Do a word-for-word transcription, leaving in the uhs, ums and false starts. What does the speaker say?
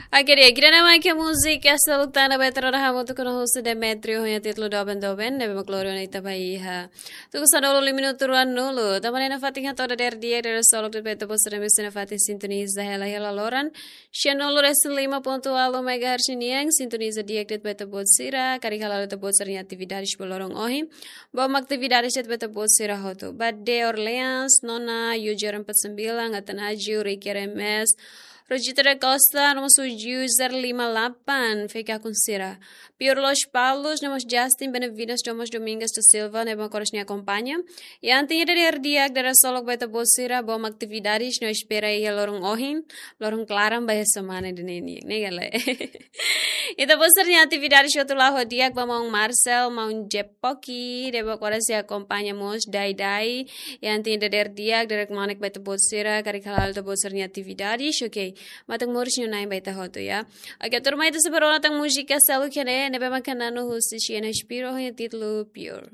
Oke, di'ak, ida-ne'e mak múzika seluk tan ne'ebé ita rona hamutuk ho ita-nia host Demetrio ho nia títulu Doben Doben, ne'ebé mak lori ona ita ba iha tuku sanulu liu minutu ruanulu. Tanba ne'e nafatin hato'o dadeer di'ak, dadeer-seluk de'it ba ita-boot sira ne'ebé sei nafatin sintoniza hela iha laloran sianulu resin lima pontu ualu megahertz nian, sintoniza di'ak de'it ba ita-boot sira, karik hala'o ita-boot sira-nia atividades ba loron ohin. Bom atividades de'it ba ita-boot sira hotu. Bade Orleans, Nona, Yujar empat sembilan, Atanasio, Ricky R M S, Rogério da Costa, nomós user lima delapan, fica com sira. Pior Los Palos, nomós Justin Benavides, nomós Domingos da Silva, ne'ebé mak oras ne'e akompaña. I antes dadeer di'ak, dadeer-seluk ba ita-boot sira, bom atividades, no espera iha loron ohin, loron klaran ba iha semana ida-ne'e nian, ne'e ka lae? Ita-boot sira-nia atividades hotu la'o di'ak ba maun Marcel, maun Jepoki, ne'ebé mak oras sei akompaña mós Dai Dai. I antes dadeer di'ak, dadeer-kmanek ba ita-boot sira, karik hala'o ita-boot sira-nia atividades, oke. Matan moris no nain ba ita hotu, ya. Oke, tuirmai ita sei bá rona tan múzika seluk iha ne'e, ne'ebé mak hanesan husi Siena Spiro, ho nia títulu Pure.